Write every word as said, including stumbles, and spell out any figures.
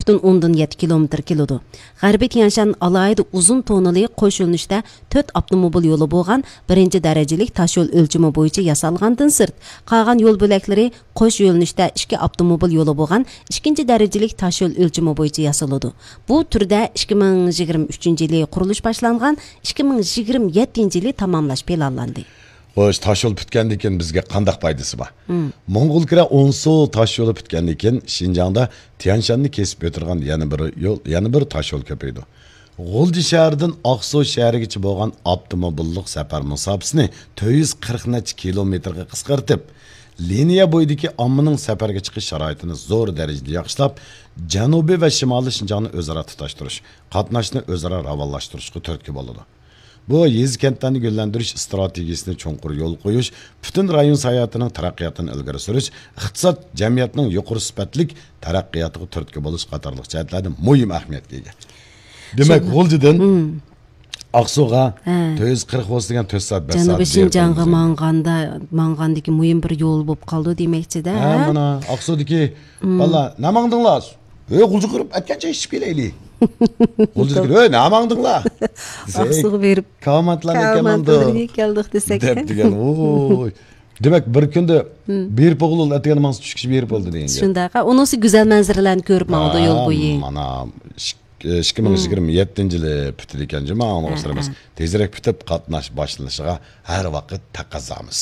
پۈتۈن ئوندىن يەتتە كىلومېتىر كېلىدۇ. غەربىي تيەنشان ئالاھىدە ئۇزۇن توننىلى قوش يۆنىلىشتە تۆت ئاپتوموبىل يولى بولغان بىرىنچى دەرىجىلىك تاشيول ئۆلچىمى بويىچە ياسالغاندىن سىرت، قالغان يول بۆلەكلىرى قوش يۆنىلىشتە ئىككى ئاپتوموبىل يولى بولغان ئىككىنچى دەرىجىلىك تاشيول ئۆلچىمى بويىچە ياسىلىدۇ. بۇ تۈردە ئىككى مىڭ يىگىرمە ئۈچىنچى يىلى قۇرۇلۇش باشلانغان، ئىككى مىڭ يىگىرمە يەتتىنچى يىلى تاماملاش پىلانلاندى. خوش، تاشيول پۈتكەندىن كېيىن بىزگە قانداق پايدىسى بار؟ مم. موڭغۇلكۈرە ئونسۇ تاشيولى پۈتكەندىن كېيىن، شىنجاڭدا تيەنشاننى كېسىپ ئۆتىدىغان يەنە بىر يول، يەنە بىر تاشيول كۆپىيىدۇ. غۇلجا شەھىرىدىن ئاقسۇ شەھىرىگىچە بولغان ئاپتوموبىللىق سەپەر مۇساپىسىنى تۆت يۈز قىرىق نەچچە كىلومېتىرغا قىسقارتىپ، لىنىيە بويىدىكى ئاممىنىڭ سەپەرگە چىقىش شارائىتىنى زور دەرىجىدە ياخشىلاپ، جەنۇبىي ۋە شىمالىي شىنجاڭنى ئۆزئارا تۇتاشتۇرۇش، قاتناشنى ئۆزئارا راۋانلاشتۇرۇشقا تۈرتكە بولىدۇ. بۇ يېزا كەنتلەرنى گۈللەندۈرۈش ئىستراتېگىيىسىنى چوڭقۇر يولغا قويۇش، پۈتۈن رايون ساياھىتىنىڭ تەرەققىياتىنى ئىلگىرى سۈرۈش، ئىقتىساد، جەمئىيەتنىڭ يۇقىرى سۈپەتلىك تەرەققىياتىغا تۈرتكە بولۇش قاتارلىق جەھەتلەردە مۇھىم ئەھمىيەتكە ئىگە. دېمەك، شۇنداق. غۇلجىدىن مم. ئاقسۇغا ھە. تۆت يۈز قىرىق بولسا دېگەن تۆت سائەت، بەش سائەت جەنۇبىي بېرىپ شىنجاڭغا بولىمىز. ماڭغاندا، ماڭغاندىكى مۇھىم بىر يول بولۇپ قالىدۇ دېمەكچىدە، ھە، ھە؟ مانا ئاقسۇدىكى مم. بالىلار، نەماڭدىڭلار؟ ئۆي غۇلجا قۇرۇپ ئەتكەنچە ئىچىپ كېلەيلى. غۇلجىدىكى، ئۆي نەماڭدىڭلار؟ دېسەك، ئاقسۇغا بېرىپ كاۋاماتلارنى كاۋاماتلارنى كەلدۇق دېسەك، دەپ دېگەن، ۋوي. دېمەك، بىر كۈندە بېرىپ بولغىلى ئەتىگەن ماڭسا چۈشكىچە بېرىپ بولدى دېگەن گەپ. شۇنداق. ئۇنىسى گۈزەل مەنزىرىلەرنى كۆرۈپ ماڭىدۇ يول بويى. مانا، ئىككى مىڭ يىگىرمە يەتتىنچى يىلى پۈتىدىكەن جۇما، ئاڭلىغۇچىلىرىمىز. ھە، ھە. تېزرەك پۈتۈپ، قاتناش باشلىنىشىغا ھەر ۋاقىت تەقەززامىز.